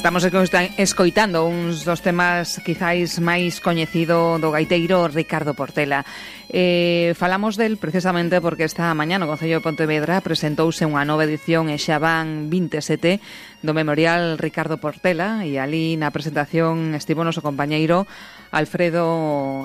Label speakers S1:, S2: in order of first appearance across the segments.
S1: Estamos escoitando uns dos temas quizáis máis coñecido do gaiteiro Ricardo Portela. Falamos del precisamente porque esta mañá no Concello de Pontevedra presentouse unha nova edición e xa van 27 do Memorial Ricardo Portela, e ali na presentación estivo noso compañeiro Alfredo,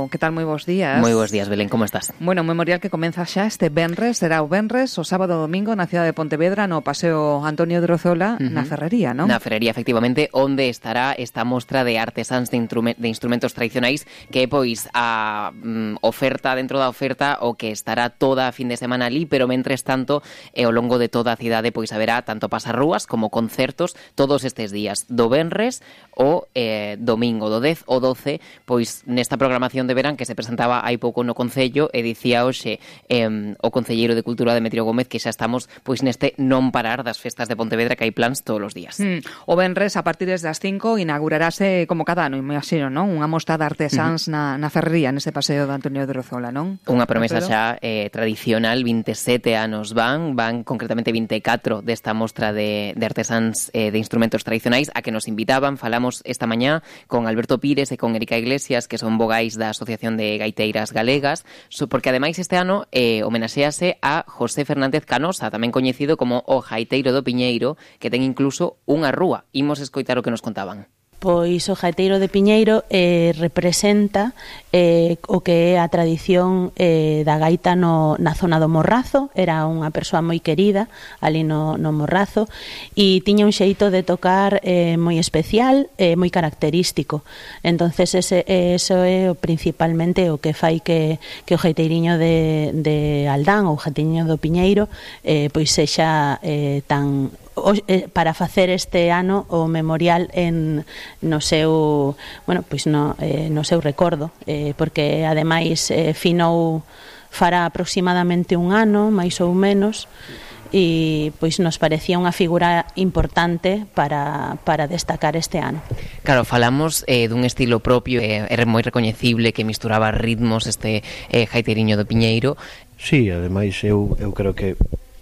S1: que tal? Moi bons días.
S2: Moi bons días, Belén, como estás?
S1: Bueno, un memorial que comeza xa este venres, será o venres, o sábado e domingo na cidade de Pontevedra, no Paseo Antonio de Rozola, na Ferrería, non?
S2: Na Ferrería, efectivamente, onde estará esta mostra de artesáns de instrumentos tradicionais, que é, pois, a oferta dentro da oferta, o que estará toda a fin de semana ali, pero mentres tanto, ao longo de toda a cidade, pois, haberá tanto pasarrúas como concertos todos estes días, do venres o domingo, do 10 o 12, pois nesta programación de verán que se presentaba hai pouco no Concello, e dicía hoxe o Concelleiro de Cultura Demetrio Gómez que xa estamos pois neste non parar das festas de Pontevedra, que hai plans todos os días.
S1: O venres a partir das 5 inaugurarase como cada ano, imagino, non? Unha mostra de artesáns na Ferrería, nese paseo de Antonio de Rozola, non?
S2: Unha promesa xa tradicional, 27 anos van concretamente 24 desta mostra de artesáns de instrumentos tradicionais a que nos invitaban. Falamos esta mañá con Alberto Pires e con Erika Iglesias, que son vogais da Asociación de Gaiteiras Galegas, porque ademais este ano homenaxease a José Fernández Canosa, tamén coñecido como o Gaiteiro do Piñeiro, que ten incluso unha rúa. Imos escoitar o que nos contaban.
S3: Pois o Gaiteiro de Piñeiro representa o que é a tradición da gaita na zona do Morrazo. Era unha persoa moi querida ali no Morrazo, e tiña un xeito de tocar moi especial, moi característico. Entonces eso é principalmente o que fai que o gaiteiriño de Aldán, ou o gaiteiriño do Piñeiro, pois sexa tan... para facer este ano o memorial no seu recordo, porque ademais finou fará aproximadamente un ano, máis ou menos, e pois nos parecía unha figura importante para destacar este ano.
S2: Claro, falamos dun estilo propio, era moi recoñecible, que misturaba ritmos este gaiteiriño do Piñeiro.
S4: Sí, ademais eu creo que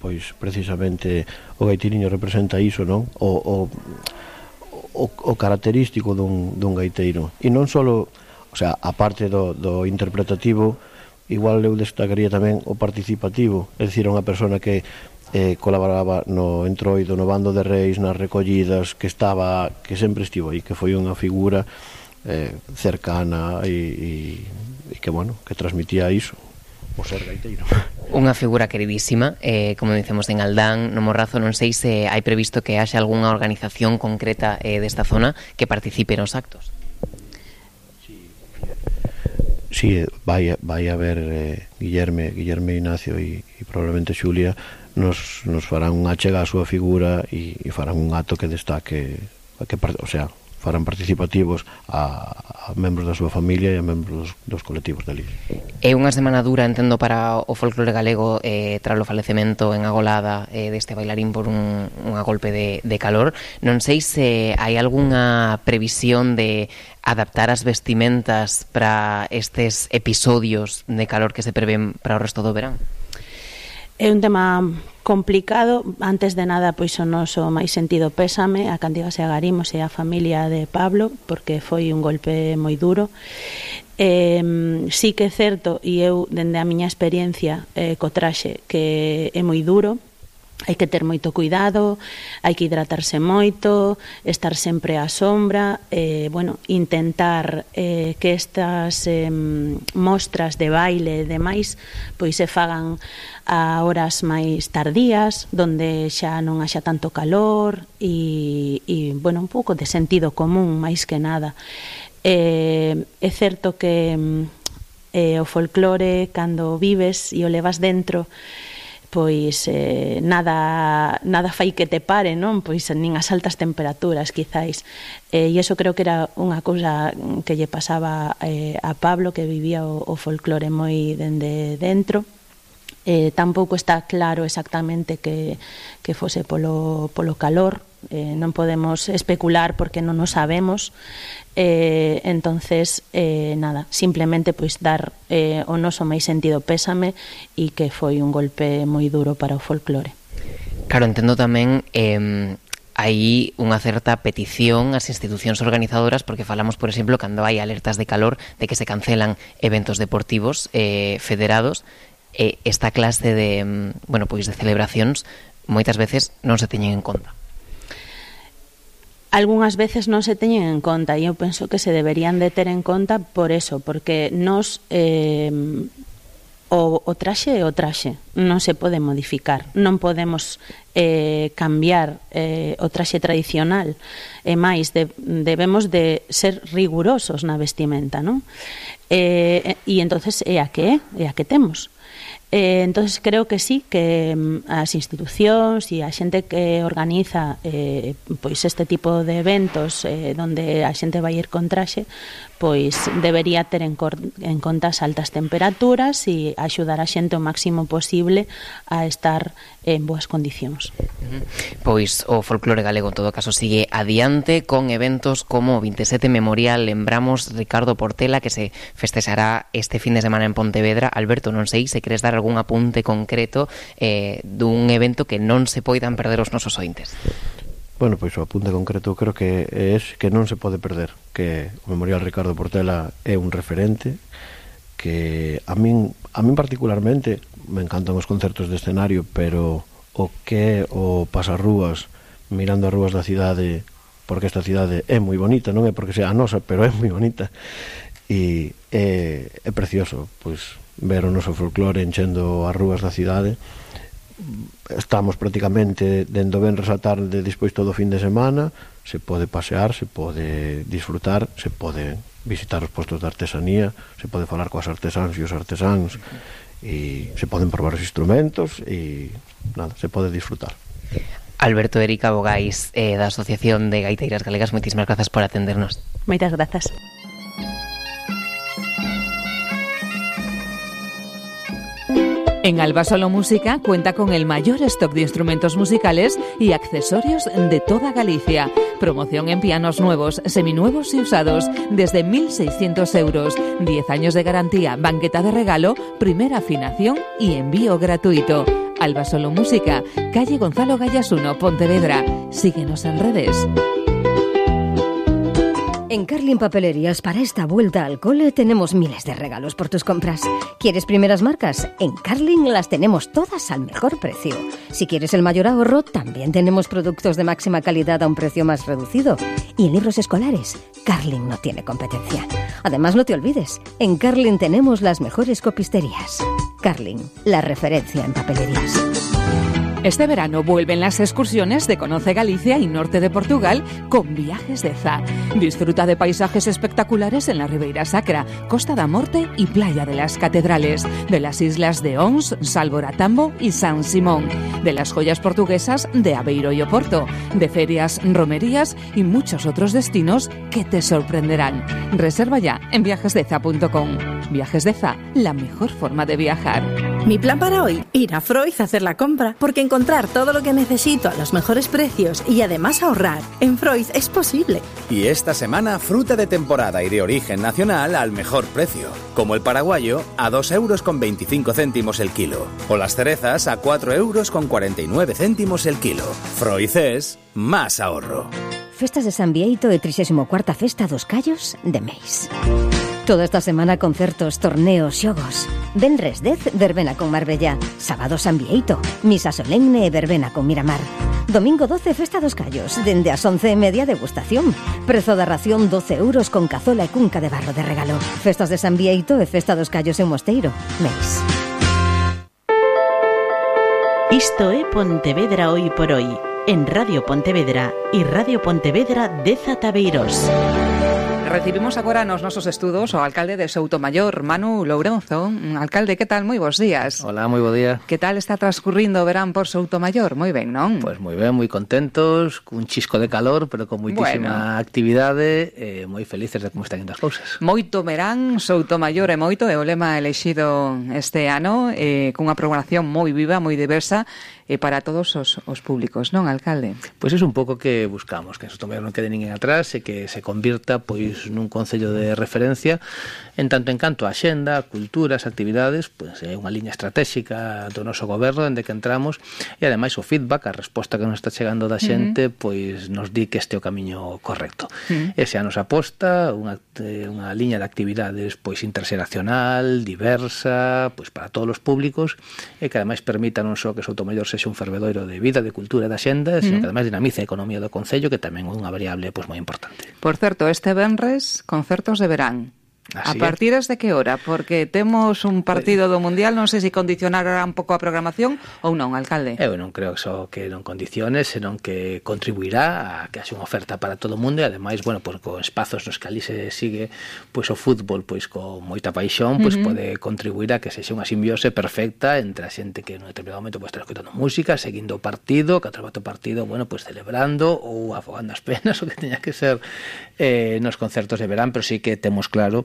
S4: pois precisamente o gaiteiriño representa iso, non? O característico dun gaiteiro. E non só, o sea, a parte do interpretativo, igual eu destacaría tamén o participativo, é dicir, unha persona que colaboraba no entroido, no bando de reis, nas recollidas, que sempre estivo aí, que foi unha figura cercana e que, bueno, que transmitía iso, o ser gaiteiro.
S2: Unha figura queridísima, como dicemos en Aldán, no Morrazo. Non sei se hai previsto que haxa algunha organización concreta desta zona que participe nos actos.
S4: Sí, vai haber Guillerme Ignacio e probablemente Xulia nos farán unha achega á súa figura e farán un acto que destaque, o sea, farán participativos a membros da súa familia e a membros dos colectivos dali.
S2: É unha semana dura, entendo, para o folclore galego tras o falecemento en Agolada deste bailarín por unha golpe de calor. Non sei se hai algunha previsión de adaptar as vestimentas para estes episodios de calor que se prevén para o resto do verán.
S3: É un tema complicado. Antes de nada, pois o noso máis sentido pésame a Cantigas e a Garimos e a familia de Pablo, porque foi un golpe moi duro. Sí que é certo, e eu dende a miña experiencia co traxe, que é moi duro. Hai que ter moito cuidado, hai que hidratarse moito, estar sempre á sombra, intentar que estas mostras de baile e demais pois se fagan a horas máis tardías, donde xa non haxa tanto calor e un pouco de sentido común, máis que nada. É certo que o folclore, cando vives e o levas dentro, pois nada fai que te pare, non? Pois nin as altas temperaturas, quizáis. E iso creo que era unha cousa que lle pasaba a Pablo, que vivía o folclore moi dende dentro. Tampouco está claro exactamente que fose polo calor. Non podemos especular porque non o sabemos. Entonces nada, simplemente pois dar o noso máis sentido pésame e que foi un golpe moi duro para o folclore.
S2: Claro, entendo tamén hai unha certa petición ás institucións organizadoras, porque falamos, por exemplo, cando hai alertas de calor de que se cancelan eventos deportivos federados, esta clase de, bueno, pois de celebracións moitas veces non se teñen en conta.
S3: Algúnas veces non se teñen en conta e eu penso que se deberían de ter en conta por eso, porque nos o traxe é o traxe, non se pode modificar, non podemos cambiar o traxe tradicional, e máis debemos de ser rigurosos na vestimenta, non? E entonces é a que temos. Entonces creo que sí, que as institucións e a xente que organiza pois este tipo de eventos donde a xente vai ir con traxe, pois debería ter en conta as altas temperaturas e axudar a xente o máximo posible a estar en boas condicións.
S2: Pois o folclore galego en todo caso sigue adiante con eventos como o 27 Memorial. Lembramos, Ricardo Portela, que se festexará este fin de semana en Pontevedra. Alberto, non sei se queres dar algún apunte concreto dun evento que non se poidan perder os nosos ointes.
S4: Bueno, pois o apunte concreto creo que é que non se pode perder, que o Memorial Ricardo Portela é un referente, que a min particularmente me encantan os concertos de escenario, pero o que é o pasarrúas mirando as rúas da cidade, porque esta cidade é moi bonita, non é porque sea a nosa, pero é moi bonita, e é precioso pois ver o noso folclore enchendo as rúas da cidade. Estamos prácticamente dende o venres á tarde despois todo o fin de semana, se pode pasear, se pode disfrutar, se pode visitar os postos de artesanía, se pode falar coas artesáns e os artesáns, e se poden probar os instrumentos e nada, se pode disfrutar.
S2: Alberto, Erika Bogais, da Asociación de Gaiteiras Galegas, moitísimas grazas por atendernos.
S3: Moitas grazas.
S1: En Albasolo Música cuenta con el mayor stock de instrumentos musicales y accesorios de toda Galicia. Promoción en pianos nuevos, seminuevos y usados desde 1.600 euros. 10 años de garantía, banqueta de regalo, primera afinación y envío gratuito. Albasolo Música, calle Gonzalo Gallas 1, Pontevedra. Síguenos en redes.
S5: En Carlin Papelerías, para esta vuelta al cole, tenemos miles de regalos por tus compras. ¿Quieres primeras marcas? En Carlin las tenemos todas al mejor precio. Si quieres el mayor ahorro, también tenemos productos de máxima calidad a un precio más reducido. Y en libros escolares, Carlin no tiene competencia. Además, no te olvides, en Carlin tenemos las mejores copisterías. Carlin, la referencia en papelerías.
S1: Este verano vuelven las excursiones de Conoce Galicia y Norte de Portugal con Viajes de Za. Disfruta de paisajes espectaculares en la Ribeira Sacra, Costa da Morte y Playa de las Catedrales, de las islas de Ons, Salvoratambo y San Simón, de las joyas portuguesas de Aveiro y Oporto, de ferias, romerías y muchos otros destinos que te sorprenderán. Reserva ya en viajesdeza.com. Viajes de Za, la mejor forma de viajar.
S6: Mi plan para hoy, ir a Freud a hacer la compra, porque encontrar todo lo que necesito a los mejores precios y además ahorrar en Freud es posible.
S7: Y esta semana, fruta de temporada y de origen nacional al mejor precio, como el paraguayo a 2,25 € el kilo, o las cerezas a 4,49 € el kilo. Freud es más ahorro.
S5: Festas de San Bieito e 34ª Festa dos Callos de Meis. Toda esta semana concertos, torneos, xogos. Venres 10, verbena con Marbella. Sábado San Bieito, misa solemne e verbena con Miramar. Domingo 12, Festa dos Callos, dende as 11:30 degustación. Prezo da ración 12 € con cazola e cunca de barro de regalo. Festas de San Bieito e Festa dos Callos en Mosteiro, Meis.
S8: Isto é Pontevedra hoy por hoy, en Radio Pontevedra e Radio Pontevedra de Zataveiros.
S1: Recibimos agora nos nosos estudos o alcalde de Soutomaior, Manu Lourenzo. Alcalde, que tal? Moi bons días.
S9: Hola, moi bo día.
S1: Que tal está transcurrindo o verán por Soutomaior? Moi ben, non?
S9: Pois moi ben, moi contentos, cun chisco de calor, pero con moitísima actividade, moi felices de como están indo as cousas.
S1: Moito verán, Soutomaior e moito, é o lema elexido este ano, cunha programación moi viva, moi diversa, para todos os públicos, non, alcalde?
S9: Pois é un pouco que buscamos, que en Soutomaior non quede ninguén atrás e que se convirta pois pois nun concello de referencia, en tanto en canto a xenda, a cultura, as actividades, pois é unha liña estratégica do noso goberno dende que entramos, e ademais o feedback, a resposta que nos está chegando da xente, pois nos di que este é o camiño correcto. Ese a nosa aposta, unha liña de actividades pois interxeracional, diversa, pois para todos os públicos, e que ademais permita non só que Soutomaior sexa un fervedoiro de vida, de cultura e da xenda, sino que ademais dinamice a economía do concello, que tamén é unha variable pois moi importante.
S1: Por certo, este venres, concertos de verán.
S9: Así
S1: a partir de que hora? Porque temos un partido do Mundial, non sei se condicionará un pouco a programación ou non, alcalde.
S9: Eu non creo que non condicione, senón que contribuirá a que haxe unha oferta para todo o mundo, e ademais, bueno, pois con espazos nos que ali se sigue pois o fútbol pois con moita paixón, pois pode contribuir a que sexa unha simbiose perfecta entre a xente que en un determinado momento pois está escoitando música, seguindo o partido, que atrabate o partido, bueno, pois celebrando ou afogando as penas, o que teña que ser nos concertos de verán, pero sí que temos claro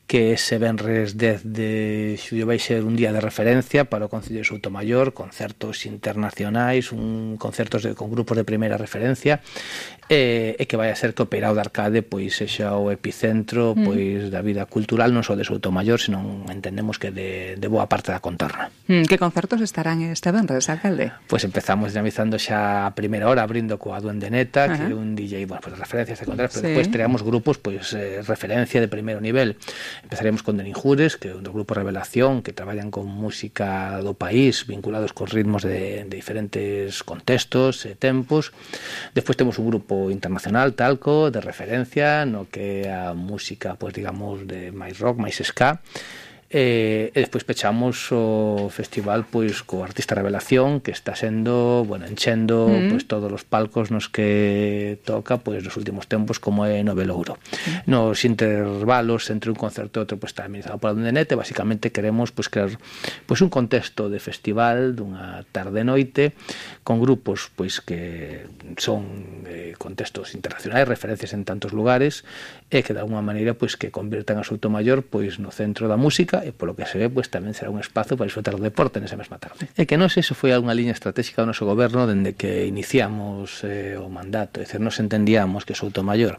S9: que ese venres 10 de xullo vai ser un día de referencia para o Concello de Soutomaior, concertos internacionais, concertos con grupos de primeira referencia, e que vai a ser que o Peirao de Arcade pois sexa o epicentro pois da vida cultural non só de Soutomaior, senón entendemos que de boa parte da contorna.
S1: Que concertos estarán este venres, alcalde?
S9: Pois empezamos dinamizando xa a primeira hora abrindo coa Duende Neta, que é un DJ, bueno, pois referencias de contar, pero despois teremos grupos pois referencia de primeiro nivel. Empezaremos con Deninjures, que é un dos grupos Revelación, que traballan con música do país, vinculados con ritmos de diferentes contextos e tempos. Despois temos un grupo internacional, Talco, de referencia, no que a música, pois digamos, de máis rock, máis ska. E despois pechamos o festival pois co artista Revelación, que está sendo, bueno, enchendo pois todos os palcos nos que toca pois nos últimos tempos, como é no Velouro. Nos intervalos entre un concerto e outro pois está amenizado por Duende Neta, e basicamente queremos pois crear pois un contexto de festival dunha tarde-noite con grupos pois que son contextos internacionais, referencias en tantos lugares, e que de alguma maneira pois que convirtan a Soutomaior pois no centro da música, e polo que se ve, pois tamén será un espazo para disfrutar do deporte nesa mesma tarde. E que non sei se foi algunha liña estratégica do noso goberno dende que iniciamos o mandato, é dicir, nos entendíamos que Soutomaior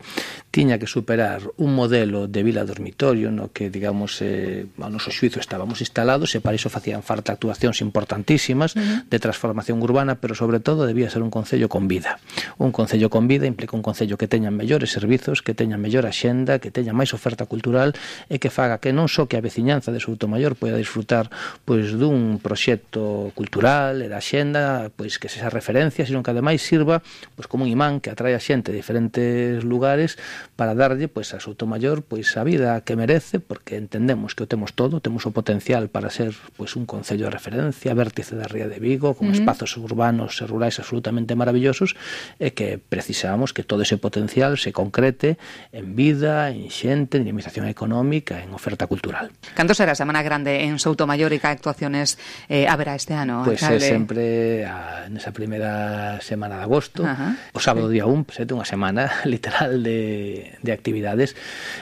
S9: tiña que superar un modelo de vila dormitorio no que, digamos, ao noso xuizo estábamos instalados, e para iso facían falta actuacións importantísimas de transformación urbana, pero sobre todo debía ser un concello con vida. Un concello con vida implica un concello que teña mellores servizos, que teña mellor axenda, que teña máis oferta cultural, e que faga que non só que a veciñanza de Soutomaior poida disfrutar pois dun proxecto cultural e da xenda pois que sexa referencia, sino que ademais sirva pois como un imán que atrae a xente de diferentes lugares para darlle pois a Soutomaior pois a vida que merece, porque entendemos que o temos todo, temos o potencial para ser pois un concello de referencia, vértice da Ría de Vigo, con espazos urbanos e rurais absolutamente maravillosos, e que precisamos que todo ese potencial se concrete en vida, en xente, en dinamización económica, en oferta cultural.
S1: Canto será a Semana Grande en Soutomaior e que actuaciones haberá este ano,
S9: pois é sempre nesa primeira semana de agosto, o sábado día 1, é unha semana literal de actividades.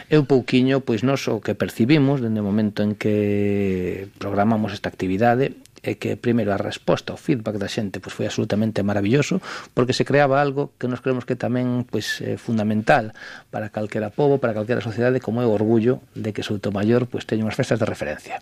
S9: É un pouquiño, pois nós o que percibimos dende o momento en que programamos esta actividade é que, primeiro, a resposta, o feedback da xente pois foi absolutamente maravilloso, porque se creaba algo que nos creemos que tamén pois é fundamental para calquera pobo, para calquera sociedade, como é o orgullo de que Soutomaior pois teña unhas festas de referencia.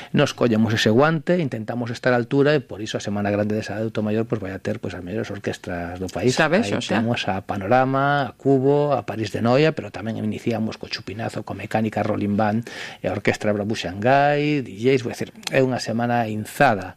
S9: Nos collemos ese guante, intentamos estar á altura, e por iso a Semana Grande de Soutomaior pois vai a ter pois as mellores orquestras do país.
S1: Sabes,
S9: aí temos a Panorama, a Cubo, a París de Noia, pero tamén iniciamos co Chupinazo, co Mecánica Rolling Band e a Orquestra Brabu Xangai, DJs, vou decir, é unha semana inzada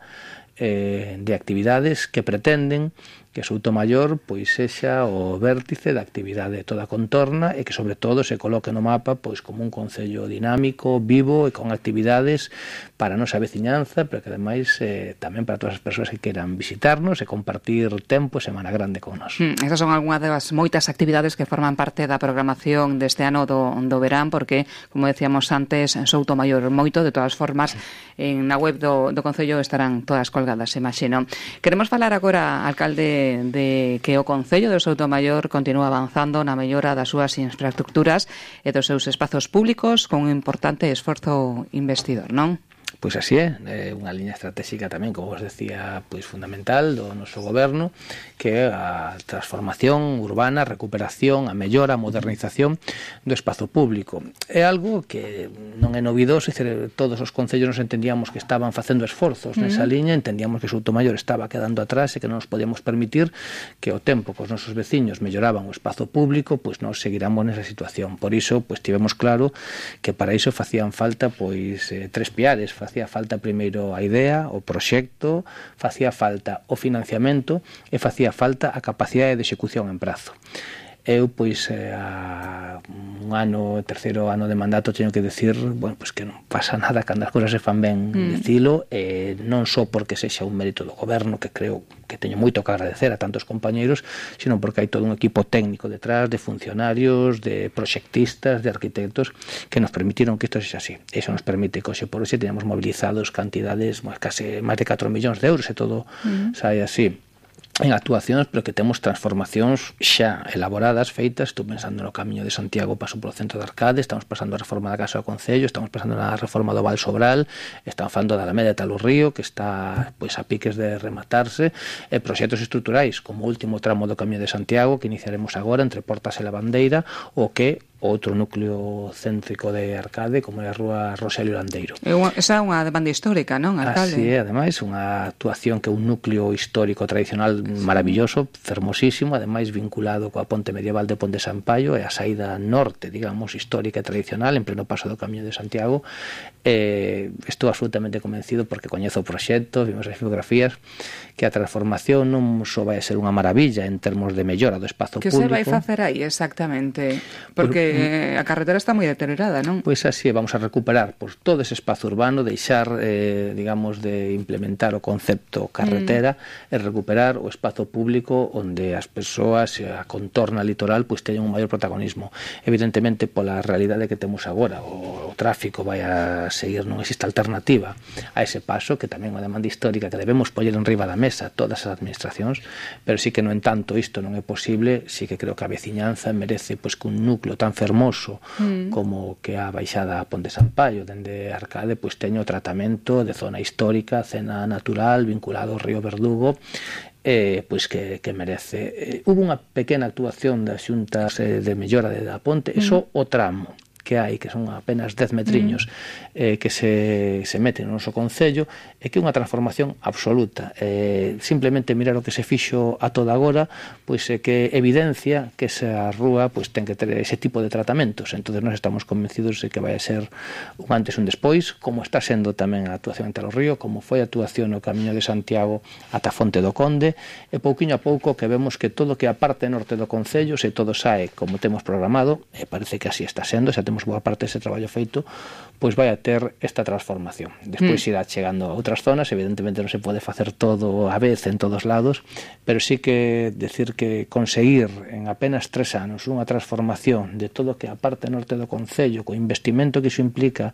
S9: de actividades que pretenden que Soutomaior pois sexa o vértice da actividade de toda a contorna, e que sobre todo se coloque no mapa pois como un concello dinámico, vivo e con actividades para a nosa veciñanza, pero que ademais tamén para todas as persoas que queran visitarnos e compartir tempo e Semana Grande con nós.
S1: Esas son algunhas das moitas actividades que forman parte da programación deste ano do verán, porque, como decíamos antes, Soutomaior moito, de todas formas, na web do Concello estarán todas colgadas, imagino. Queremos falar agora, alcalde, de que o Concello de Soutomaior continúa avanzando na mellora das súas infraestructuras e dos seus espazos públicos con un importante esforzo investidor, non?
S9: Pois así é unha liña estratégica tamén, como vos decía, pois fundamental do noso goberno, que é a transformación urbana, a recuperación, a mellora, a modernización do espazo público. É algo que non é novidoso, todos os concellos nos entendíamos que estaban facendo esforzos nesa liña, entendíamos que Soutomaior estaba quedando atrás e que non nos podíamos permitir que o tempo que os nosos veciños melloraban o espazo público, pois nós seguiramos nesa situación. Por iso, pois tivemos claro que para iso facían falta pois tres piares. Facía falta primeiro a idea, o proxecto, facía falta o financiamento e facía falta a capacidade de execución en prazo. Eu, pois, a terceiro ano de mandato, teño que decir, bueno, pois que non pasa nada cando as cousas se fan ben, dicilo, non só porque sexa un mérito do goberno, que creo que teño moito que agradecer a tantos compañeiros, sino porque hai todo un equipo técnico detrás, de funcionarios, de proxectistas, de arquitectos, que nos permitiron que isto sexa así. Eso nos permite que hoxe por hoxe teñamos mobilizados cantidades, case máis de 4 millóns de euros, e todo sai así en actuacións, pero que temos transformacións xa elaboradas, feitas. Estou pensando no Camiño de Santiago, paso polo centro de Arcade, estamos pasando a reforma da Casa do Concello, estamos pasando na reforma do Val Sobral, estamos falando da Alameda de Talurrío, que está pois a piques de rematarse, e proxectos estruturais, como o último tramo do Camiño de Santiago, que iniciaremos agora entre Portas e Lavandeira, o que outro núcleo céntrico de Arcade, como é a Rúa Roselio Landeiro.
S1: Esa é unha demanda histórica, non, alcalde?
S9: Así é, ademais, unha actuación que é un núcleo histórico tradicional maravilloso, fermosísimo, ademais vinculado coa ponte medieval de Ponte Sampaio e a saída norte, digamos, histórica e tradicional, en pleno paso do Camiño de Santiago. Estou absolutamente convencido, porque coñezo o proxecto, vimos as biografías, que a transformación non só vai a ser unha maravilla en termos de mellora do espazo público.
S1: Que se vai facer aí exactamente? Porque a carretera está moi deteriorada, non?
S9: Pois así, vamos a recuperar todo ese espazo urbano, deixar, digamos, de implementar o concepto carretera e recuperar o espazo público onde as persoas, a contorna litoral, pois teñen un maior protagonismo. Evidentemente, pola realidade que temos agora, o tráfico vai a seguir, non existe alternativa a ese paso, que tamén é unha demanda histórica que debemos poñer en riba da mesa todas as administracións, pero sí que, no entanto, isto non é posible. Sí que creo que a veciñanza merece pois que un núcleo tan fermoso como que a baixada a Ponte Sampaio dende Arcade pois teño o tratamento de zona histórica, cena natural vinculado ao río Verdugo, pois que merece. Hubo unha pequena actuación das xuntas de mellora da ponte, eso o tramo que hai, que son apenas 10 metriños que se meten no noso concello, e que é unha transformación absoluta. Simplemente mirar o que se fixo a toda agora, pois é que evidencia que esa rúa pois ten que ter ese tipo de tratamentos. Entón nós estamos convencidos de que vai a ser un antes e un despois, como está sendo tamén a actuación en Talorrío, como foi a actuación no Camiño de Santiago ata Fonte do Conde, e pouquiño a pouco que vemos que todo que a parte norte do concello, se todo sae como temos programado, e parece que así está sendo, xa temos boa parte dese traballo feito, pois vai a ter esta transformación. Despois irá chegando a outras zonas, evidentemente non se pode facer todo a vez en todos lados, pero sí que decir que conseguir en apenas 3 anos unha transformación de todo que a parte norte do concello, co investimento que iso implica,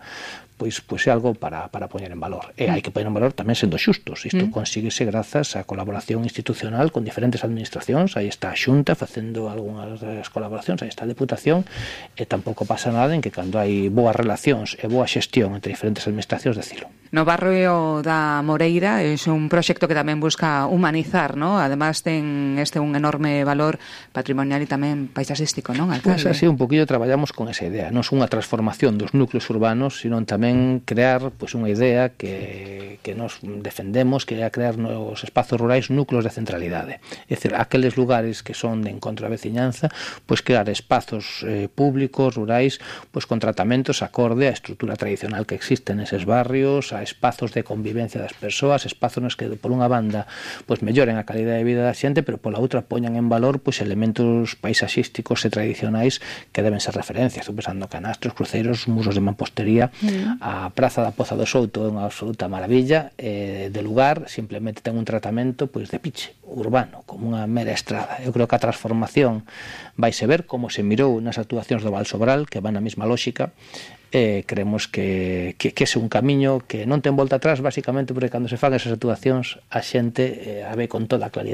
S9: pois é algo para poñer en valor. E hai que poñer en valor tamén sendo xustos. Isto consíguese grazas á colaboración institucional con diferentes administracións. Aí está a Xunta facendo algunhas das colaboracións, aí está a Deputación, e tampouco pasa nada en que cando hai boas relacións e boa xestión entre diferentes administracións, decilo.
S1: No barrio da Moreira é un proxecto que tamén busca humanizar, ¿no? Además ten un enorme valor patrimonial e tamén paisaxístico, non, alcalde?
S9: Pois así un poquillo traballamos con esa idea. Non é unha transformación dos núcleos urbanos, sino tamén crear pois unha idea que nos defendemos, que é crear nos espazos rurais núcleos de centralidade. É dicir, aqueles lugares que son de encontro á veciñanza, pois crear espazos públicos, rurais, pois con tratamentos acorde á estrutura tradicional que existe neses barrios, a espazos de convivencia das persoas, espazos nos que por unha banda pois melloren a calidade de vida da xente, pero pola outra poñan en valor pois elementos paisaxísticos e tradicionais que deben ser referencias. Estou pensando canastros, cruceiros, muros de mampostería. A Praza da Poza do Souto é unha absoluta maravilla de lugar, simplemente ten un tratamento pois de piche urbano, como unha mera estrada. Eu creo que a transformación vaise ver como se mirou nas actuacións do Val Sobral, que van na mesma lógica. Creemos que é un camiño que non ten volta atrás, basicamente porque cando se fan esas actuacións a xente a ve con toda a claridade